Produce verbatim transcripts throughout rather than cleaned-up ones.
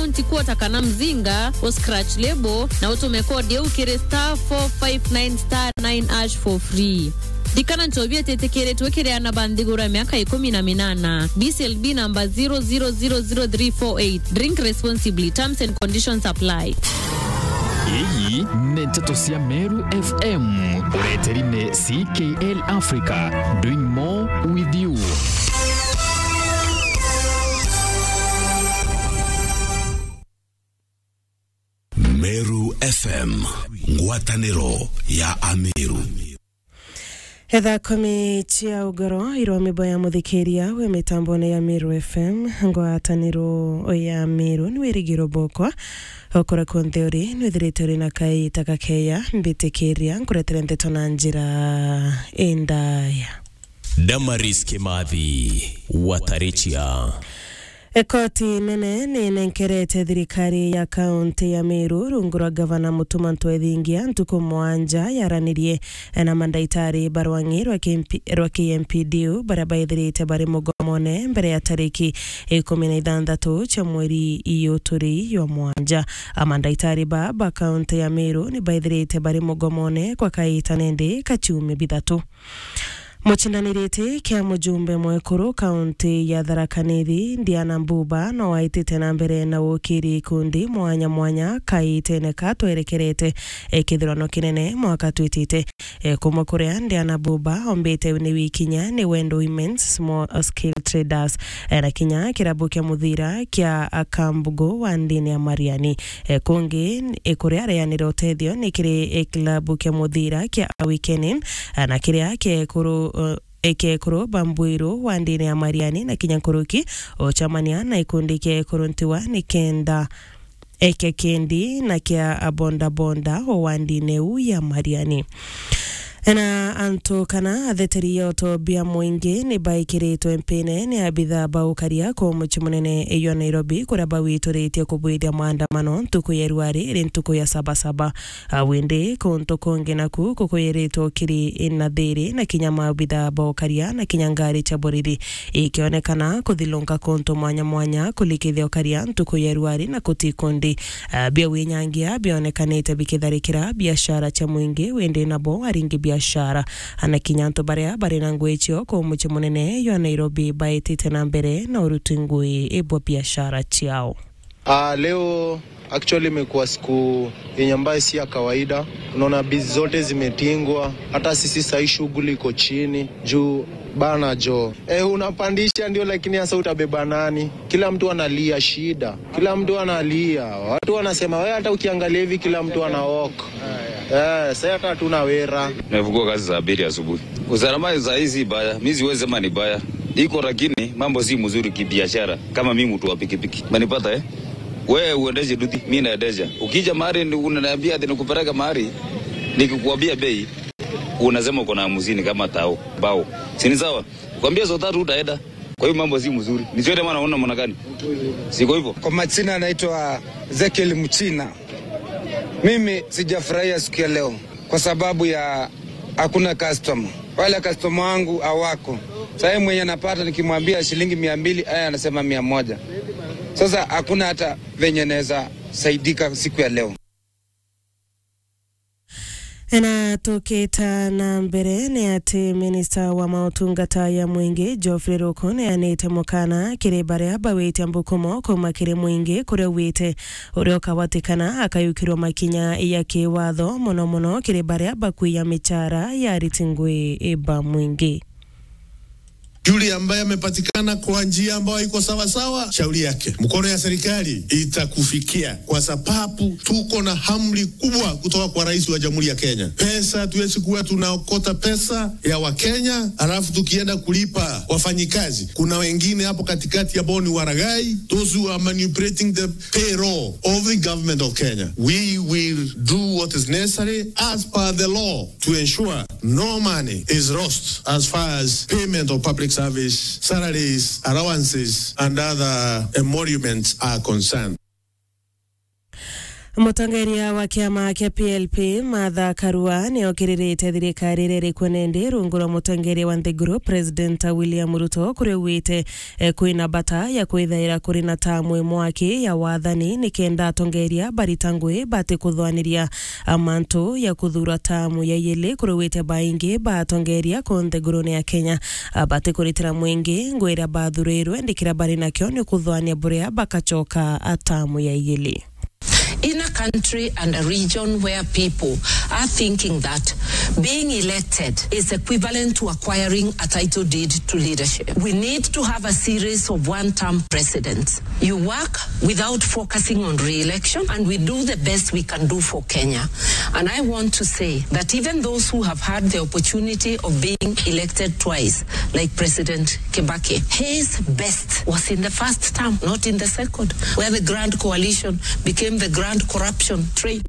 Ntikwota kana mzinga, u scratch label, na utume code iu kiri star four five nine star nine hash for free. Ndikana nchobi ititikiritwe kiri ana ba nthiguru ya miaka ikumi na minana. B C L B number zero zero zero zero three four eight. Drink responsibly. Terms and conditions apply. Iyi ni nteto cia Meru F M. Ureteri ni C K L Africa. Doing more with you. Meru F M, ngwataniro ya Ameru. Etha kumi cia ugoro irwa mibo ya muthikiria we mitambone ya Meru F M, ngwataniro ya Meru ni wirigiro bokwa. Okora kunthe uri, nwithirite uri na kaita gakeya, mbitikiria nkuretere nteto na njira indaya. Damaris Kimathi, Watarichia. Ekoti nene ni nenkerete thirikari ya kaunti ya Meru rungu rwa gavana Mutuma Ntwethingia ntuku mwanja yaranirie na mandaitari ba rwang'i rwa K M P, rwa K M P D U baria baithirite bari mugomone mbere ya tariki ikumi na ithanthatu cia mweri iyu turi jwa mwanja. Amandaitari ba, ba kaunti ya Meru ni baithirite bari mugomone kwa kaita nandi ka ciumia bithatu. Mucindaniriti kia mujumbe mwekuru kaunti ya Tharaka Nithi, Diana Mbuba, no aitite na mbere na ukiri ikundi mwanya mwanya kaitene ka twerekerete, e, kithurano kinene mwaka twitite. E, kumwe kuria Diana Mbuba ombite ni wikinya ni Wendo Women's Small Scale Traders, e, na kinya kirabu kia muthira kia Akambugu wa ndini ya Mariani. E, kungi, e, kuria areanira utethio ni kiri, e, kilabu kia muthira kia Awakening, e, na kiria kiekuru, e, kiekuru Bambwiru wa ndini ya Mariani na kinya nkuruki, ucamania na ikundi kia ekuru ntiwa ni kenda eke kindi na kia abondabonda o wandine u ya Mariani. Na antu kana atheteri ya utobia mwingi ni baikiritwe mpine ni abitha ba ukaria ku mucii munene iyo Nairobi, kuria bawituritie kubwithia maandamano ntuku ya Rwari iri ntuku ya Sabasaba. A, windi kuntu kungi naku kukuyiritwe ukiri na thiri na kinya maabitha ba ukaria na kinya ngari cia borithi ikionekana kuthilunka kuntu mwanya mwanya kulikithia ukaria ntuku ya Rwari na kuti ikundi, a, bia winyangia bionekanite bikitharikira biashara cia mwingi, windi nabo aringi biashara, a, na kinya antu baria bari na ngui cio ku mucii munene jwa Nairobi baitite na mbere na uruti ngui bwa biashara ciao. Ah, leo actually imekuwa siku yenye ambayo si ya kawaida. Unaona, bizi zote zimetingwa, hata sisi sahii shughuli iko chini juu bana jo. Eh, unapandisha ndio, lakini sasa utabeba nani? Kila mtu analia shida, kila mtu analia. Watu wanasema, wewe, hata ukiangalia hivi kila mtu ana walk. Eh, sasa hata hatuna wera. Nimefungua kazi saa mbili asubuhi. Usalama saa hii si mbaya, mimi siwezi sema ni mbaya. Iko, lakini mambo si mzuri kibiashara. Kama mimi mtu wa pikipiki. Umenipata, eh? Wewe uendeshe duty, mimi naendesha. Ukija mahali ni-, unaniambia ati nikupeleke mahali, nikikuambia bei, unasema uko na hamsini kama tao, bao. Si ni sawa? Kwambia saa tatu utaenda. Kwa hiyo mambo si mzuri. Ni siende maana unaona mwana gani? Siko hivyo. Kwa majina anaitwa Ezekiel Mchina. Mimi sijafurahia siku ya leo kwa sababu ya hakuna customer. Wale customer wangu hawako. Sasa yeye mwenye anapata nikimwambia shilingi mia mbili, yeye anasema mia moja. Sasa hakuna hata venye naweza saidika siku ya leo. Na tukita na mbere ni ati minista wa mautungata ya mwingi Geoffrey Ruku neanite mukana kiri baria bawitia mbukumo kuma kiri mwingi kuria ugwite uria ukawatikana akayukirwa makinya ya kiwatho, mono mono kiri baria bakwiya michara ya ariti ngui ba mwingi. Yule ambaye amepatikana kwa njia ambayo haiko sawa sawa, shauri yake. Mkono ya serikali itakufikia, kwa sababu tuko na amri kubwa kutoka kwa Rais wa Jamhuri ya Kenya. Pesa, hatuwezi kuwa tunaokota pesa ya Wakenya alafu tukienda kulipa wafanyikazi. Kuna wengine hapo katikati ambao ni waragai, those who are manipulating the payroll of the government of Kenya. We will do what is necessary as per the law to ensure no money is lost as far as payment of public service, salaries, allowances, and other emoluments are concerned. Mutongeria wa kiama kia P L P, Martha Karua, ni okiririte thirikari iria iri kuo nindi rungu rwa mutongeria wa nthiguru, President William Ruto, kuria augite, eh, kwina bata ya kwithaira kuri na tamu imwe aki ya wathani, nikenda atongeria barita ngui bati kuthwaniria, ah, mantu ya kuthura tamu ya iili, kuria augite baingi ba atongeria ku nthigurune ya Kenya, ah, bati kuritira mwingi ngui iria bathurirwe, ndikira bari nakio ni kuthwania buria bakacoka, ah, tamu ya iili. In a country and a region where people are thinking that being elected is equivalent to acquiring a title deed to leadership, we need to have a series of one-term presidents. You work without focusing on re-election, and we do the best we can do for Kenya. And I want to say that even those who have had the opportunity of being elected twice, like President Kibaki, his best was in the first term, not in the second, where the Grand Coalition became the Grand Corruption Train.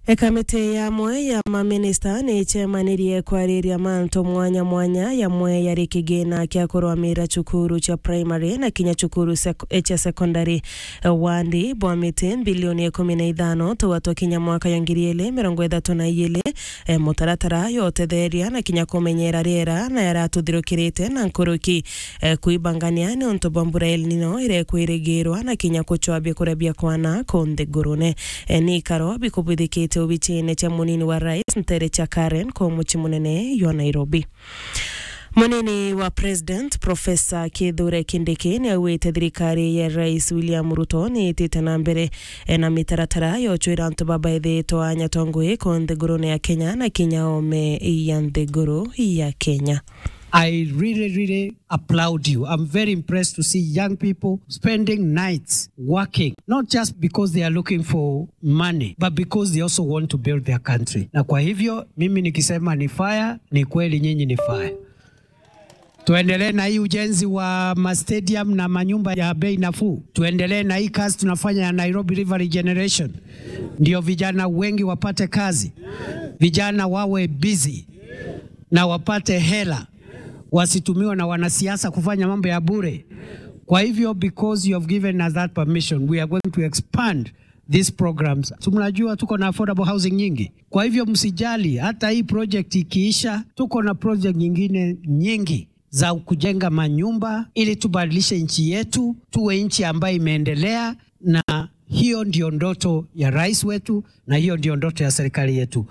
Ekamiti yamwe ya maminista ni icemanirie kwariria mantu mwanya mwanya, yamwe yari kigina kia kurwamira cukuru cia primary na kinya cukuru sek-, eh, cia secondary. Eh, wandi bwa miti mbilioni ikumi na ithano tuwa twa kinya mwaka ya ngiri ili mirongo ithatu na iili, eh, mutaratara ya utetheria na kinya kumenyera riera na yaratuthirukirite na nkuruki, eh, kwibangania ni untu bwa mbura El Nino iria ikwirigirwa na kinya kucwabia kuria bia kwana ku nthigurune. Eh, ni ikaro bikubwithikite obichine cia munini wa rais ntere cia Karen ku mucii munene jwa Nairobi. Munini wa President, Professor Kithure Kindiki, ni augite thirikari ya Rais William Ruto ni itite na mbere, eh, na mitaratara ya ucwira antu babaithitwe anya twa ngui ku nthigurune ya Kenya na kinya ome ya nthiguru ya Kenya. I really, really applaud you. I'm very impressed to see young people spending nights working, not just because they are looking for money, but because they also want to build their country. Na kwa hivyo, mimi nikisema ni fire, ni kweli nyinyi ni fire. Tuendelee na hii ujenzi wa ma stadium na manyumba ya bei nafuu. Tuendelee na hii kazi tunafanya ya Nairobi River Regeneration. Ndio vijana wengi wapate kazi. Vijana wawe busy na wapate hela. Wasitumiwe na wanasiasa kufanya mambo ya bure. Kwa hivyo, because you have given us that permission, we are going to expand these programs. Si mnajua tuko na affordable housing nyingi? Kwa hivyo msijali, hata hii project ikiisha, tuko na project nyingine nyingi za kujenga manyumba ili tubadilishe nchi yetu, tuwe nchi ambayo imeendelea, na hiyo ndio ndoto ya rais wetu, na hiyo ndio ndoto ya serikali yetu.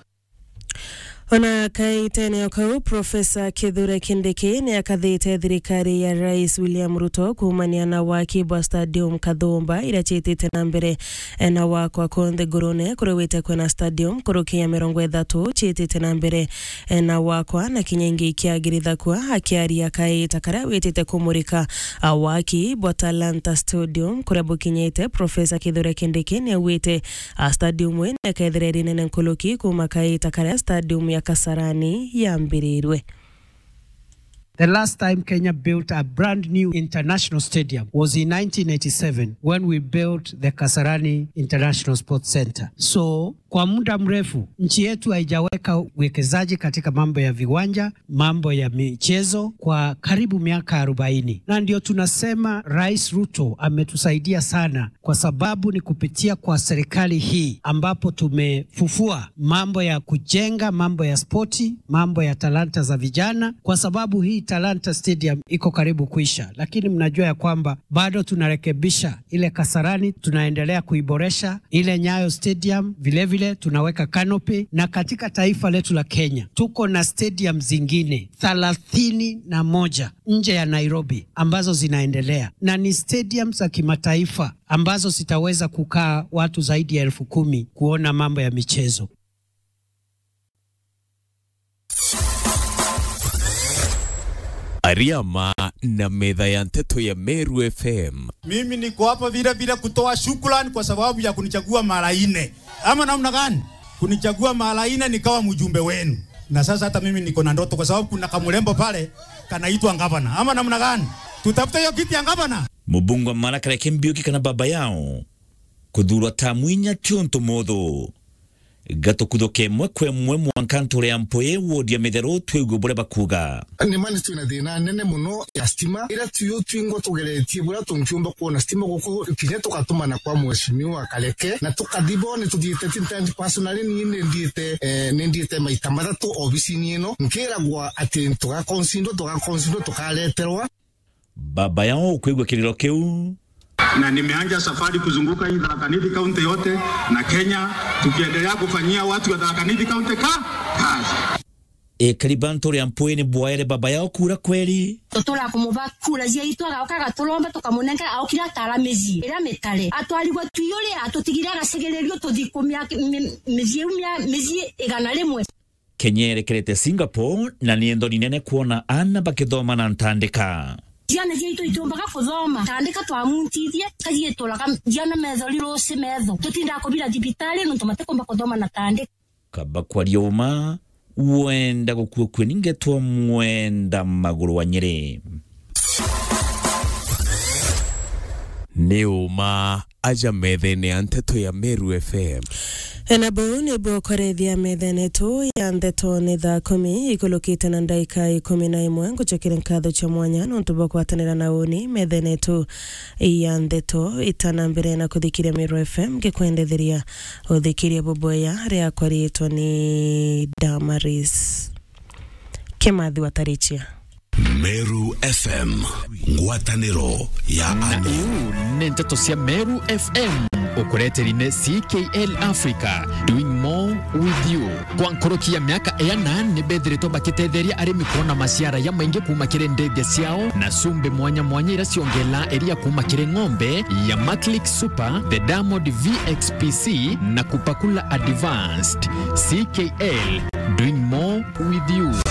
Ona kaitene o kau, Professor Kithure Kindiki ni akathite thirikari ya Rais William Ruto kuumania na waki bwa stadium Kathumba iria ciitite na mbere, eh, na wakwa ku nthigurune, kuria augite kwina stadium nkuruki ya mirongo ithatu ciitite na mbere, eh, na wakwa na kinya ingi ikiagirithakua. Akiaria kaita karia witite kumurika, ah, waki bwa Talanta Stadium kuria bukinyite, Professor Kithure Kindiki ni augite, ah, stadium ino ikethira iri nene nkuruki kuuma kaita karia stadium ya Kasarani yambirirwe. The last time Kenya built a brand new international stadium was in nineteen eighty-seven when we built the Kasarani International Sports Center. So, kwa muda mrefu, nchi yetu haijaweka uwekezaji katika mambo ya viwanja, mambo ya michezo kwa karibu miaka arobaini. Na ndio tunasema Rais Ruto ametusaidia sana, kwa sababu ni kupitia kwa serikali hii ambapo tumefufua mambo ya kujenga, mambo ya spoti, mambo ya talanta za vijana, kwa sababu hii Talanta Stadium iko karibu kuisha, lakini mnajua ya kwamba bado tunarekebisha ile Kasarani, tunaendelea kuiboresha. Ile Nyayo Stadium vilevile tunaweka canopy, na katika taifa letu la Kenya tuko na stadium zingine thelathini na moja nje ya Nairobi ambazo zinaendelea, na ni stadium za kimataifa ambazo zitaweza kukaa watu zaidi ya elfu kumi kuona mambo ya michezo. Ariama na metha ya nteto ya Meru F M. Mimi niko hapa vile vile kutoa shukrani kwa sababu ya kunichagua mara nne. Ama namna gani? Kunichagua mara nne nikawa mjumbe wenu. Na sasa hata mimi niko na ndoto kwa sababu kuna kamrembo pale kanaitwa gavana. Ama namna gani? Tutafute hiyo kiti ya gavana. Mubunge wa Marakara Kimbiuki kana baba yao kuthurwa tamu inya ti untu muthu. Gatukuthuke imwe kwa imwe mwanka nture ya Mpui, wodi ya Mitheru, twigue buria bakuuga. Ni ma ni twina thina nene mono ya stima, iria tuyu twingwa tugeretie buria tungiumba kwona stima guku, kinya tugatumana kwa mheshimiwa Kareke, na tukathi bo ni tuthiite ti ntendi personally, ni ni ndiite, eh, ni ndiite maita mathatu obisini ino, nkiragwa ati tugakonsindwa, tugakonsindwa, tukareterwa. Baba yao ukwigua kiriro kiu. Na nimeanza safari kuzunguka hii Tharaka Nithi County yote na Kenya, tukiendelea kufanyia watu wa Tharaka Nithi County ka-, kazi. Ekari ba nture ya Mpui ni bwaere baba yao kura kweri? Tutura kumuba kura ciaitu, agaoka agaturomba, tukamunenga, aokire atara micii iria mitare. Atwarigwe twiyuri, atutigire agacigiririo tuthi kumia mi-, micii iu mia, micii igana rimwe. Kenya irekerete Singapore, na ni nthoni nene kwona aana bakithoma na ntandika. Ciana ciaitu itiumbaga kuthoma, tandika twamuntithie, kaciituraga ciana metho riruci metho. Tutindaga kubira thibitari nontu matikumba kuthoma na tandika. Kaba kwaria uma, wenda gukua kue ningetwa Mwenda Maguru wa Nyeri. Ni uma aja methene ya nteto ya Meru F M. Na buu nibuo kwarethia methene tu ya nteto ni thaa kumi ikulukite na ndaika ikumi na imwe. Ngucokere nkatho cia mwanya nontu bwa kwatanira na uni methene tu ya nteto itana mbere na kuthikiria Meru F M, ngikwendetheria uthikiria bubwea riakwa riitwa ni Damaris Kimathi wa Tarichia. Meru F M, ngwataniro ya Na ane. Iu ni nteto cia Meru F M, ukureteri ni C K L Africa, doing more with you. Kwa nkoroki ya miaka iana, ni bethiritwe bakitetheria arimi kwona maciara ya maingi kuma kiri ndege ciao na cumbi mwanya mwanya iria ciongela iria kuma kiri ng'ombe ya Maclick Super, the Diamond V X P C na Kupakula Advanced. C K L, doing more with you.